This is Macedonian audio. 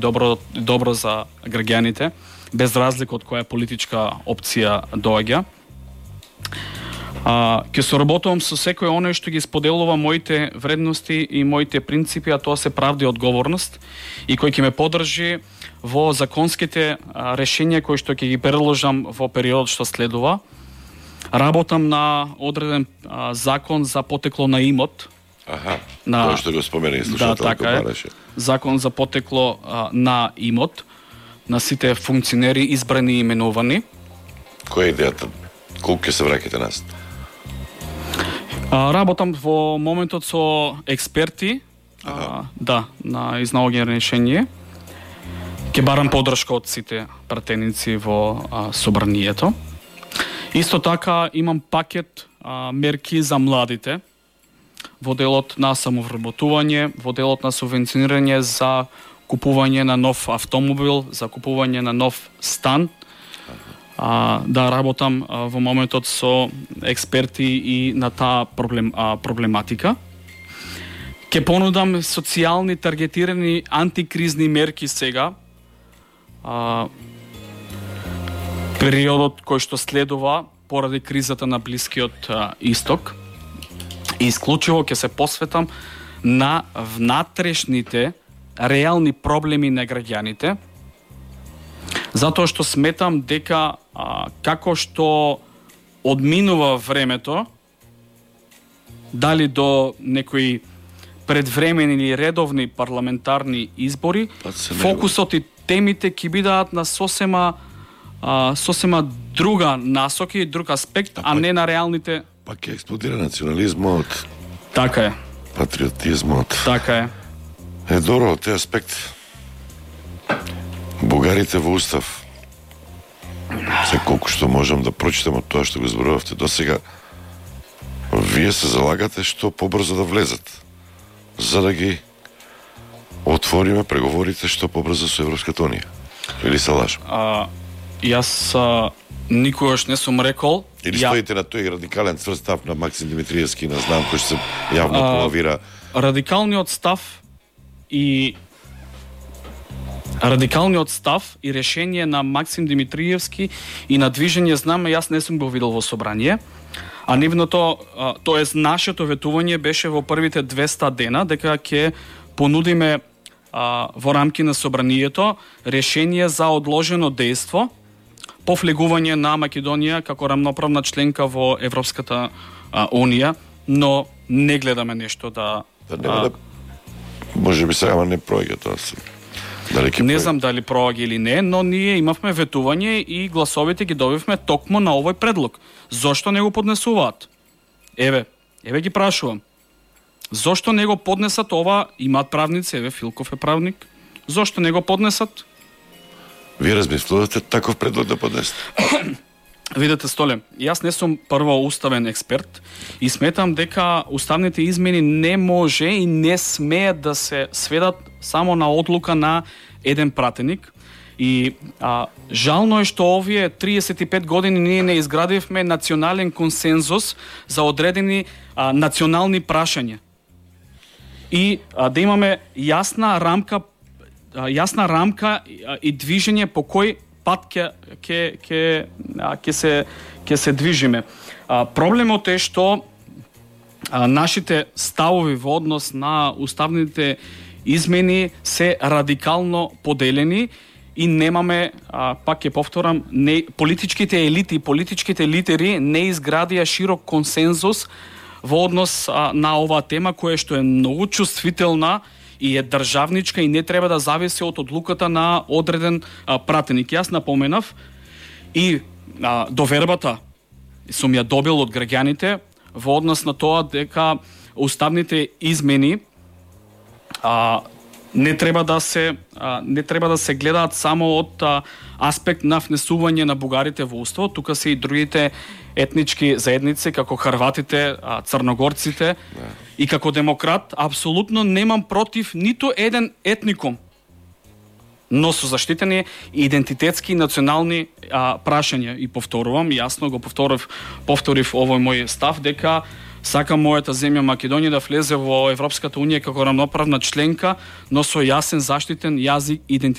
добро за граѓаните, без разлика од која политичка опција доаѓа. Ќе соработувам со секој оној што ги споделува моите вредности и моите принципи, а тоа се правда и одговорност, и кој ќе ме поддржи во законските решенија кои што ќе ги предложам во периодот што следува. Работам на одреден закон за потекло на имот. Тоа што го спомена и слушателот бараше. Закон за потекло на имот на сите функционери избрани и именувани. Која е идејата? Колку ќе се враќате нас? Работам во моментот со експерти, на изнаоѓање решение. Ќе барам поддршка од сите пратеници во собранието. Исто така имам пакет мерки за младите во делот на самовработување, во делот на субвенционирање за купување на нов автомобил, за купување на нов стан. Да работам во моментот со експерти и на таа проблематика. Ке понудам социјални таргетирани антикризни мерки сега. Периодот кој што следува поради кризата на Блискиот Исток. И исклучиво ќе се посветам на внатрешните реални проблеми на граѓаните. Затоа што сметам дека како што одминува времето, дали до некои предвремени или редовни парламентарни избори, фокусот и темите ќе бидат на сосема друга насока и друг аспект, а не на реалните. Пак ќе експлодира национализмот. Така е. Патриотизмот. Така е. Добро, тој аспект. Бугарите во устав. Се колку што можам да прочитам од тоа што го зборувавте досега, вие се залагате што побрзо да влезат, за да ги отвориме преговорите што побрзо со Европската унија. Или се лажам? Јас никогаш не сум рекол. Или стоите на тој радикален цврст став на Максим Димитриевски, на знам кој се јавно полавира. Радикалниот став и решение на Максим Димитриевски и на движење Знаме, јас не сум го видел во собрание. А нивното, тоест нашето ветување беше во првите 200 дена, дека ќе понудиме во рамки на собранието решение за одложено дејство по влегување на Македонија како рамноправна членка во Европската унија, но не гледаме нешто може би сега не проаѓа тоа. Не знам дали проаѓа или не, но ние имавме ветување и гласовите ги добивме токму на овој предлог. Зошто не го поднесуваат? Еве ги прашувам. Зошто не го поднесат ова? Имаат правници, еве Филков е правник. Зошто не го поднесат? Вие размислувате таков предлог да поднесете? Видете, Столе, јас не сум прво уставен експерт и сметам дека уставните измени не може и не смеат да се сведат само на одлука на еден пратеник. И жално е што овие 35 години ние не изградивме национален консензус за одредени национални прашања. И да имаме јасна рамка и движење по кој пат ќе се движиме. Проблемот е што нашите ставови во однос на уставните измени се радикално поделени и немаме, пак ќе повторам, политичките елити, политичките лидери не изградија широк консензус во однос на оваа тема која што е многу чувствителна и е државничка и не треба да зависи од одлуката на одреден пратеник. Јас напоменав и довербата сум ја добил од граѓаните во однос на тоа дека уставните измени не треба да се гледаат само од аспект на внесување на бугарите во уставот, тука се и другите етнички заедници како хрватите, црногорците. И како демократ апсолутно немам против ниту еден етникум, но со заштитени идентитетски и национални прашања. И повторувам, јасно го повторив овој мој став дека Сакам мојата земја Македонија да влезе во Европската унија како рамноправна членка, но со јасен заштитен јазик, идентитет